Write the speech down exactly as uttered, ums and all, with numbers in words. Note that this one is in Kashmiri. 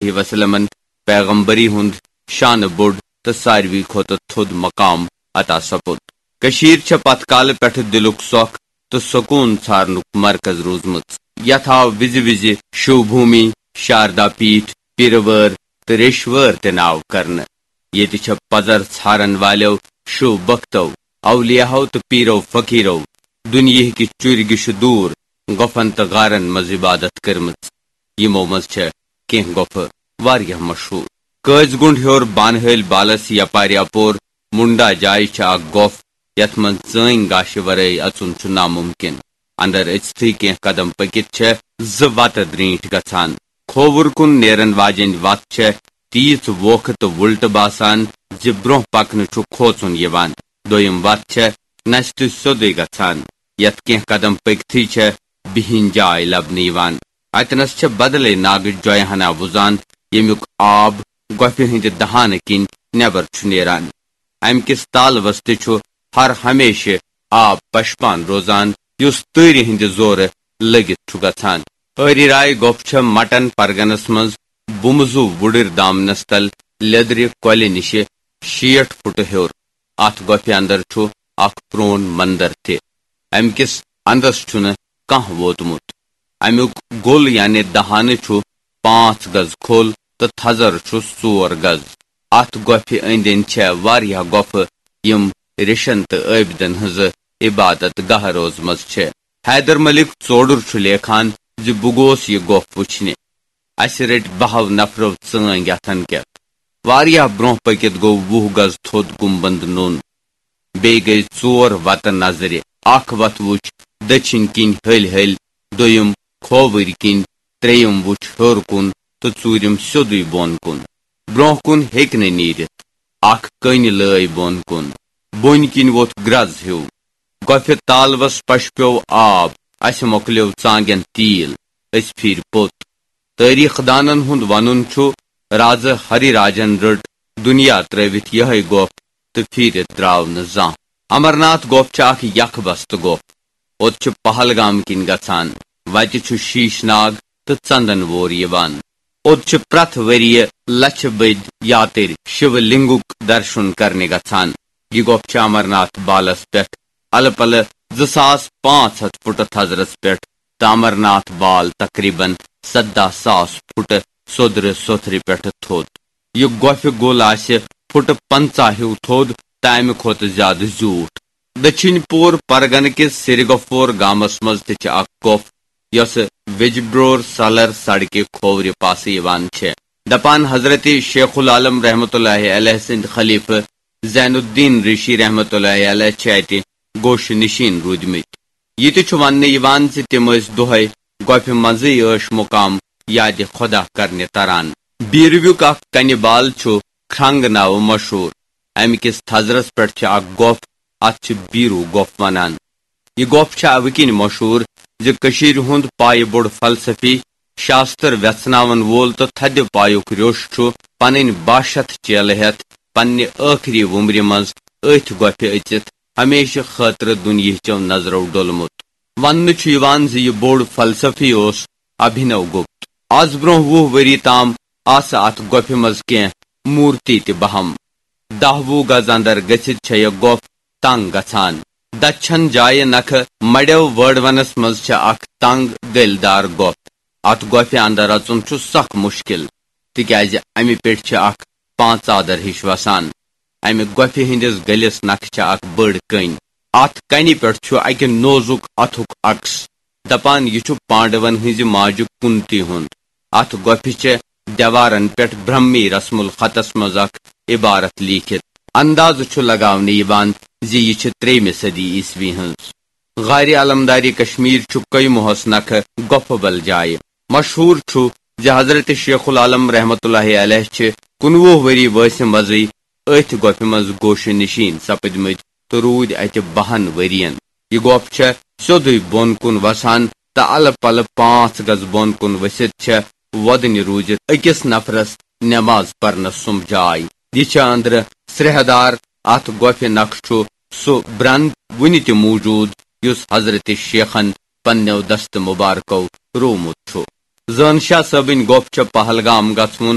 علیہ وسلمن پیغمبری ہُنٛد شانہٕ بوٚڑ تہٕ ساروی کھۄتہٕ تھوٚد مقام عطا سپُد۔ کٔشیٖر چھےٚ پتھ کالہٕ پٮ۪ٹھٕ دِلُک سۄکھ تہٕ سکوٗن ژھارنُک مرکز روٗزمٕژ۔ یتھ آو وِزِ وِزِ شِو بھوٗمی، شاردا پیٖٹھ، پیٖرٕ وٲر تہٕ ریٚشۍ وٲر تہِ ناو کرنہٕ۔ ییٚتہِ چھےٚ پزر ژھارن والٮ۪و، شِو بختو، اولیاہو تہٕ پیٖرو فقیٖرو دُنیہکہِ چُرۍ گِشہِ دوٗر گۄپھن تہٕ غارن منٛز عبادت کٔرمٕژ۔ یِمو منٛز چھےٚ کینٛہہ گۄپھٕ واریاہ مشہوٗر۔ قٲضۍ گُنٛڈ ہیوٚر بانہٕ ہٲلۍ بالس یپارِ اپور مُنڈا جایہِ چھِ اکھ گۄپھ، یتھ منٛز ژٲنۍ گاشہِ ورٲے اژُن چھُ ناممکن۔ اندر أژتھٕے کینٛہہ قدم پٔکِتھ چھےٚ زٕ وتہٕ درٛینٛٹھۍ گژھان۔ کھووُر کُن نیرن واجیٚنۍ وتھ چھےٚ تیٖژ ووکھٕ تہٕ وُلٹہٕ باسان زِ برٛونٛہہ پکنہٕ چھُ کھوژُن یِوان۔ دوٚیِم وتھ چھےٚ نستہِ سیوٚدُے گژھان، یتھ کینٛہہ قدم پٔکتھٕے چھےٚ بِہِنۍ جاے لبنہٕ یِوان۔ اتنس چھےٚ بدلے ناگٕچ جۄیہِ ہنا وُزان، ییٚمیُک آب گۄپھِ ہٕنٛدِ دہانہٕ کِنۍ نٮ۪بر چھُ نیران۔ امہِ کِس تالوس تہِ چھُ ہر ہمیشہٕ آب پشپان روزان، یُس تۭرِ ہٕنٛدِ زورٕ لٔگِتھ چھُ گژھان۔ ٲری راے گۄپھ چھےٚ مٹن پرگنس منٛز بُمہٕ زُو وُڈٕرۍ دامنس تل لیٚدرِ کۄلہِ نِشہِ شیٹھ فُٹہٕ ہیوٚر۔ اتھ گۄپھِ اندر چھُ اکھ پرون مندر تہِ۔ امہِ کِس اندس چھُنہٕ کانٛہہ ووتمُت۔ امیُک گوٚل یعنی دہانہٕ چھُ پانٛژھ گز کھوٚل تہٕ تھزر چھُس ژور گز۔ اتھ گۄپھِ أنٛدۍ أنٛدۍ چھےٚ واریاہ گۄپھٕ، یِم ریشن تہٕ عٲبدن ہٕنٛزٕ عبادت گاہ روزمژ چھےٚ۔ حیدر ملک ژوڈُر چھُ لیکھان زِ بہٕ گوس یہِ گۄپھ وٕچھنہِ۔ اسہِ رٔٹۍ بہو نفرو ژٲنٛگۍ اتھن کٮ۪تھ۔ واریاہ برونٛہہ پٔکِتھ گوٚو وُہ گز تھوٚد گُمبند نوٚن۔ بیٚیہِ گٔے ژور وتہٕ نظرِ۔ اکھ وتھ وُچھ دٔچھِنۍ کِنۍ ہلۍ ہلۍ، دوٚیِم کھووٕرۍ کِنۍ، ترٛیٚیِم وُچھ ہیوٚر کُن تہٕ ژوٗرِم سیوٚدُے بۄن کُن۔ برونٛہہ کُن ہیٚکہِ نہٕ نیٖرِتھ۔ اکھ کٔنۍ لٲے بۄن کُن۔ بۄنۍ کِنۍ ووٚتھ گرٛز ہیوٗ۔ گۄپھِ تالوَس پشہِ پیوٚو آب، اَسہِ مۄکلیو ژانٛگٮ۪ن تیٖل، أسۍ پھیٖرۍ پوٚت۔ تٲریٖخ دانن ہُنٛد وَنُن چھُ، رازٕ ہری راجن رٔٹ دُنیا ترٲوِتھ یِہوٚے گۄپھ تہٕ پھیٖرِتھ درٛاو نہٕ زانٛہہ۔ امرناتھ گۄپھ چھِ اکھ یکھ بستہٕ گۄپھ۔ اوٚت چھِ پہلگام کِنۍ گژھان۔ وتہِ چھُ شیٖش ناگ تہٕ ژندن وور یِوان۔ اوٚت چھِ پرٛٮ۪تھ ؤرِیہِ لچھِ بٔدۍ یاترۍ شِو لِنگُک درشُن کرنہِ گژھان۔ یہِ گۄپھ چھِ امرناتھ بالس پٮ۪ٹھ الہٕ پلہٕ زٕ ساس پانٛژھ ہتھ فُٹہٕ تھزرس پٮ۪ٹھ تہٕ امرناتھ بال تقریباً سداہ ساس فُٹہٕ سوٚدرٕ سوٚتھرِ پٮ۪ٹھٕ تھوٚد۔ یہِ گۄپھِ گوٚل آسہِ فُٹہٕ پنٛژاہ ہیوٗ تھوٚد تہٕ امہِ کھۄتہٕ زیادٕ زیوٗٹھ۔ دٔچھِنۍ پوٗر پرگنہٕ کِس سِرگفور گامس منٛز تہِ چھِ اکھ گۄپھ، یۄسہٕ ویجبرور سالر سڑکہِ کھوورِ پاسہٕ یِوان چھےٚ۔ دپان حضرت شیخ العالم رحمتہ اللہ علیہ سٕنٛدۍ خلیفہٕ زین الدین ریشی رحمتہ اللہ علیہ چھِ اتہِ گوشہِ نشین روٗدمٕتۍ۔ یہِ تہِ چھُ وننہٕ یِوان زِ تِم ٲسۍ دۄہے گۄپھِ منٛزٕے عٲش مقام یادِ خۄدا کرنہِ تران۔ بیٖرویُک اکھ کنہِ بال چھُ کھرنگ ناوٕ مشہوٗر۔ امہِ کِس تھزرس پٮ۪ٹھ چھِ اکھ گۄپھ، اتھ چھِ بیٖروٗ گۄپھ ونان۔ یہِ گۄپھ چھےٚ اَوٕ کِنۍ مشہوٗر زِ کٔشیٖرِ ہُنٛد پایہِ بوٚڑ فلسفی، شاستر وٮ۪ژھناون وول تہٕ تھدِ پایُک ریوٚش چھُ پنٕنۍ باہ شتھ چیلہٕ ہٮ۪تھ پننہِ ٲخری وُمرِ منٛز أتھۍ گۄپھِ أژِتھ ہمیشہٕ خٲطرٕ دُنیہچو نظرو ڈوٚلمُت۔ وننہٕ چھُ یِوان زِ یہِ بوٚڑ فلسفی اوس ابھینو گپت۔ از برونٛہہ وُہ ؤری تام آسہٕ اتھ گۄپھِ منٛز کینٛہہ مورتی تہِ بہم۔ دَہ وُہ گز اندر گٔژھِتھ چھےٚ یہِ گۄپھ تنگ گژھان۔ دچھن جایہِ نکھٕ مڑیو وٲڑوَنس منٛز چھےٚ اکھ تنگ گٔلۍ دار گۄپھ۔ اتھ گۄپھِ اندر اژُن چھُ سخ مشکل، تِکیازِ امہِ پٮ۪ٹھ چھِ اکھ پانژادر ہِش وسان۔ امہِ گۄپھِ ہٕنٛدِس گٔلِس نکھٕ چھےٚ اکھ بٔڑ کٔنۍ۔ اتھ کنہِ پٮ۪ٹھ چھُ اکہِ نوزُک اتھُک عکس۔ دپان یہِ چھُ پانڈون ہٕنٛزِ ماجہِ کُنتی ہُنٛد۔ اتھ گۄپھِ چھےٚ دیوارن پٮ۪ٹھ برہمی رسم الخطس منٛز اکھ عبارت لیٖکھِتھ۔ اندازٕ چھُ لگاونہٕ یِوان زِ یہِ چھِ ترٛیٚیِمہِ صدی عیسوی ہٕنٛز۔ غارِ علمدارِ کشمیر چھُ قیموہس نکھٕ گۄپھٕ بل جایہِ۔ مشہوٗر چھُ زِ حضرت شیخ العالم رحمتہ اللہ علیہ چھِ کُنوُہ ؤری وٲنٛسہِ منٛزٕے أتھۍ گۄپھِ منٛز گوشہِ نشین سپٕدمٕتۍ تہٕ روٗدۍ اتہِ بہن ؤرین۔ یہِ گۄپھ چھےٚ سیوٚدُے بۄن کُن وسان تہٕ الہٕ پلہٕ پانٛژھ گز بۄن کُن ؤسِتھ چھےٚ وۄدنہِ روٗزِتھ أکِس نفرس نٮ۪ماز پرنس سُمب جاے۔ یہِ چھےٚ أنٛدرٕ سرٛیہہ دار۔ اتھ گۄپھِ نقشہٕ چھُ سُہ برٛنٛد وُنہِ تہِ موٗجوٗد، یُس حضرت شیخن پننیو دستہٕ مبارکو روومُت چھُ۔ زٲن شاہ صٲبٕنۍ گۄپھ چھےٚ پہلگام گژھوُن۔